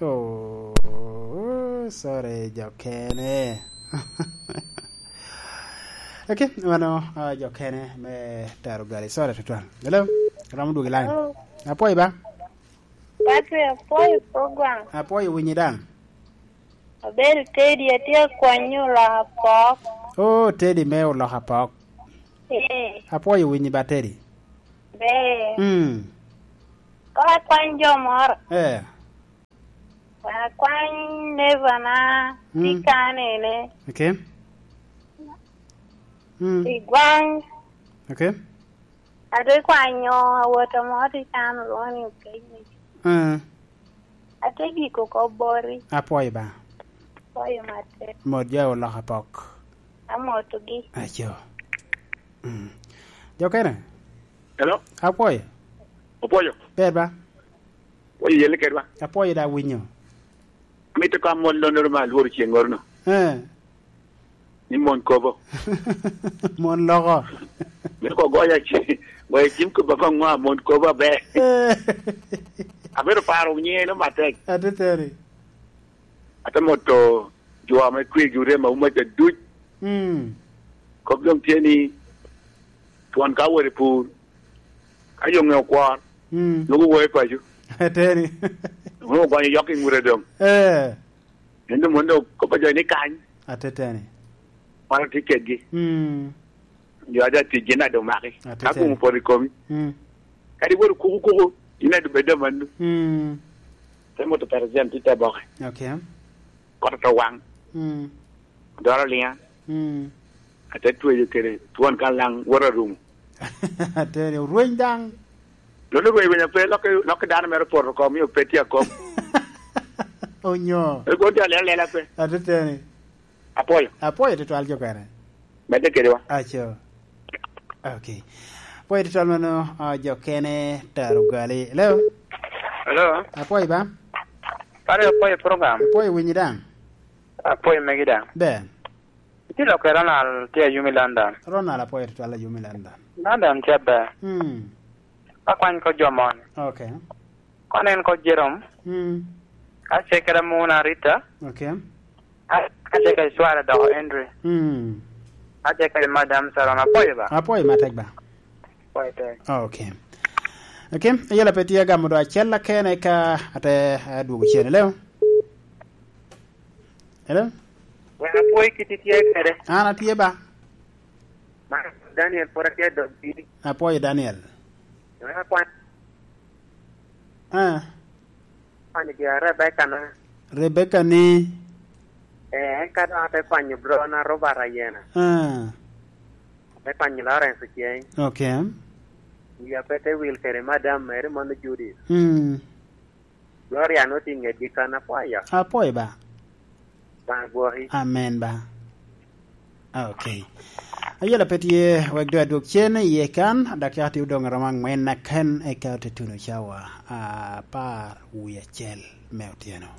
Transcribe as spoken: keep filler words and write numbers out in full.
Oh, sorry, jo kene. Okay, mano, ah, jo kene me tero gali. Sorry, tutwal. Hello? Romo dwogo i line. Hello. Apwoyo ba? Patrick, apwoyo program. Apwoyo winyi daŋ. Abedo Teddy, atye akwanyo olok apok. Oh, Teddy me olok apok. Eh. Apwoyo winyi ba, Teddy. Ber. Mm. Ka akwany jo moro. Eh. Akwany neighbor na, mm, tye kanene. Okay. Mm. I gwaŋ. Okay. Ate kwanyo awota mo tye kan olwoŋo ni Okenyni. Mm. Ate giko kop boti. Apwoyo ba. Apwoyo matek. Mot jo olok apok. Amotogi. Aco. Mm. Jo kene? Hello? Apwoyo. Opwoyo. Ber ba? Opwoyo yelle kedwa. Apwoyo da winyo. Amito ka mon lonnoro ma alworo ceŋŋoro-nu. Eh. Ni mon kobo. Mon loko. Me ko goya ci, goya cim ko baba ŋwa mon kobo aber. Eh. Abedo paro nyiŋe no matek. Ateteni. Ate moto jo ame kwegi orem auma ca duc. Mm. Kop doŋ tye ni, twon ka wot i pur, ka yoŋe okwor, mm, nwoŋo woyo paco. Ateni. Nwoŋo ogonyo yok i ŋute doŋ. Eh. Ento mon doŋ kop a jo ni kany. Ateteni. Wan otye kedgi. Mm. Jo a ja tic gin adu maki. Ateteni. Ka gum opoto i komi. Mm. Kadi wot okuku kuku, in adu bed amanno. Mm. Te moto president i te boke. Okay. Kot oto waŋ. Mm. Doro liŋa. Mm. Ate tweyo kede twon kan laŋ wot arumo. Ateni, orweny daŋ. Lolo rweny rweny ape, lokke, lokke dano mere opoto oko, omio pe tye akop. Onyo. Ego tye alela alela pe. Ateteni. Apwoyo. Apwoyo tutwal jo kene. Medde kede wa. Aco. Okay. Apwoyo tutwal mano, ah, jo kene tero gali. Hello? Hello? Apwoyo ba? Pare apwoyo program. Apwoyo winyi daŋ. Apwoyo megi daŋ. Ber. Itye lok i Ronald, tye ayumi London. Ronald, apwoyo tutwal ayumi London. London tye aber. Hmm. Akwany ko jo moni. Okay. Kono en ko Jerome. Hmm. Ace kede Muna Rita. Okay. A-, ace kede cware doko Henry. Hmm. Ace kede Madam Sarona, apwoyo ba. Apwoyo matek ba. Apwoyo tek. Okay. Okay, ayela pe tye agamo do acel akene ka ate, eh, dwogo cen. Hello? Hello? Wek apwoy kit itye kede. An atye ba. Man Daniel pwod atye dog pii. Apwoyo Daniel. Wek akwan. Ah. Kwanyo gin Rebecca na. Rebecca ni? Eh, en ka dok ate kwanyo bro na Robert Ayena. Ah. Ate kwanyo Lawrence Oceng. Okay. Wia pe te wil kede madam mere mono Judith. Mm. Gloria nwoŋo tye i ŋetgi kan, apwoyo. Apwoyo ba. Obaŋa gwoki. Amen ba. Okay. Ayela pe tye wek doŋ adwog cen iye kan, dakika tye odoŋ aromo aŋwen aken, eka ote tuno cawa apar wie acel me otyeno.